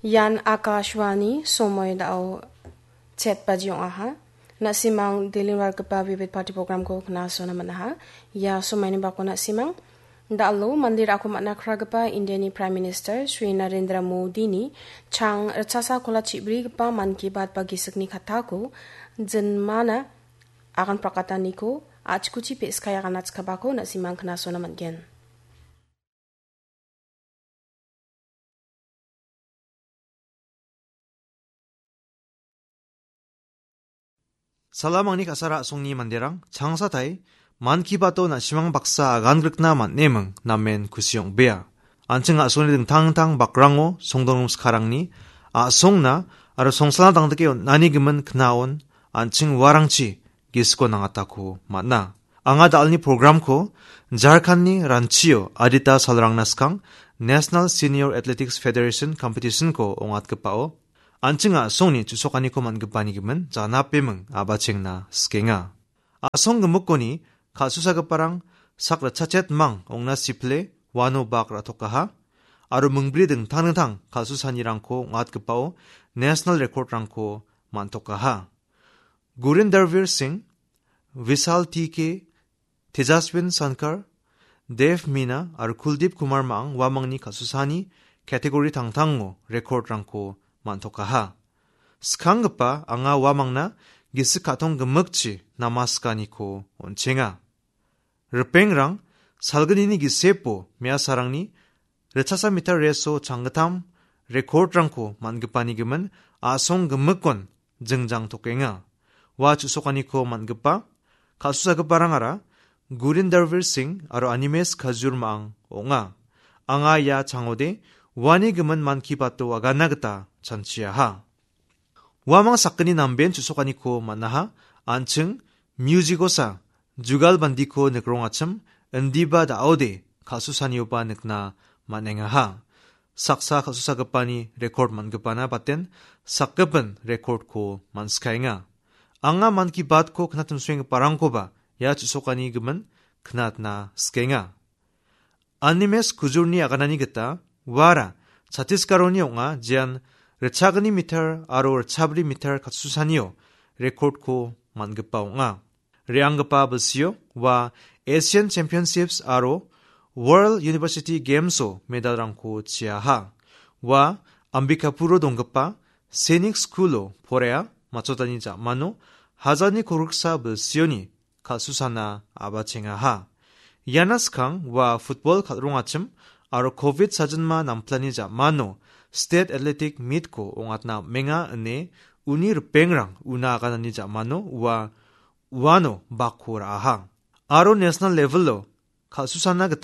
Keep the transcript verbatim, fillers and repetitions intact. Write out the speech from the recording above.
Ian Akashvani, somoi da·o chet baji ong·aha. Na·simang Delhi-o ra·gipa Vivid Bharati program-ko knasona man·aha. Ia somaini bako na·simang, da·alo mande ra·ako man·a kragipa Indiani Prime Minister Shri Narendra Modini chang ritchasa kola chibrigipa Mann Ki Baat ba gisikni kattako jinmana agan prakataniko a·chikuchi pe·skai agan achkabako na·simang knasona man·gen. Salam angni ka·sara a·songni manderang, changsatai, Mann Ki Baat-o na·simang baksa agan grikna man·eming namen kusi ong·bea. An·ching a·songni dingtang dingtang bakrango songdongrim sikarangni a·songna aro songsalna dangdike on·ani gimin knaon an·ching uarangchi gisiko nangatako man·a. Anga da·alni programko Jharkhandni Ranchio adita salrangna skang National Senior Athletics Federation Competitionko ong·atgipao an·ching a·songni chu·sokaniko man·gipani gimin janapeming a·bachengna sikenga. A·song gimikoni kal·susagiparang sak ritchachetmang ong·na sipile uano bak ra·tokaha aro mingbri dingtang dingtang kal·susanirangko ong·atgipao national record-rangko man·tokaha. Gurindarvir Singh, Vishal T K, Tejaswin Sankar, Dev Mina aro Kuldeep Kumar Maang uamangni kal·susani category tangtango record-rangko man·tokaha. Skanggipa anga uamangna gisik ka·tong gimikchi namaskaniko on·chenga. Ripengrang salgnini gisepo me·asarangni ritchasa meter race-o changgittam record-rangko man·gipani gimin a·song gimikon jingjang tokenga. Ua chu·sokaniko man·gipa kal·susagiparangara Gurindarvir Singh aro Animesh Khajur Maang ong·a. Anga ia changode uani gimin Mann Ki Baat-o agana gita chanchiaha. Uamang sakgni namben chu·sokaniko man·aha, an·ching music-osa jugalbandiko nikrongachim, indiba da·ode kal·susanioba nikna man·engaha. Saksa kal·susagipani record man·gipana baten sakgipin record-ko man·skaenga. Anga Mann Ki Baat-ko knatimsoenggiparangkoba ia chu·sokani gimin knatna sikenga. Animesh Khajurni aganani gita uara Chhattisgarh-oni ong·a, jean ritchagni meter aro ritchabri meter kal·susanio record-ko man·gipa ong·a. Re·anggipa bilsio ua Asian Championships aro World University Games-o medal-rangko chiaha. Ua Ambikapuro donggipa Sainik School-o poraia matchotani ja·mano hajalni kolgriksa bilsioni kal·susana a·bachengaha. Iana skang ua football kal·rongachim aro covid sajilma namplani ja·mano State Athletic Meet-ko ong·atna am·enga ine uni ripengrang una aganani ja·mano ua uano bakko ra·aha. Aro national level-o kal·susana gita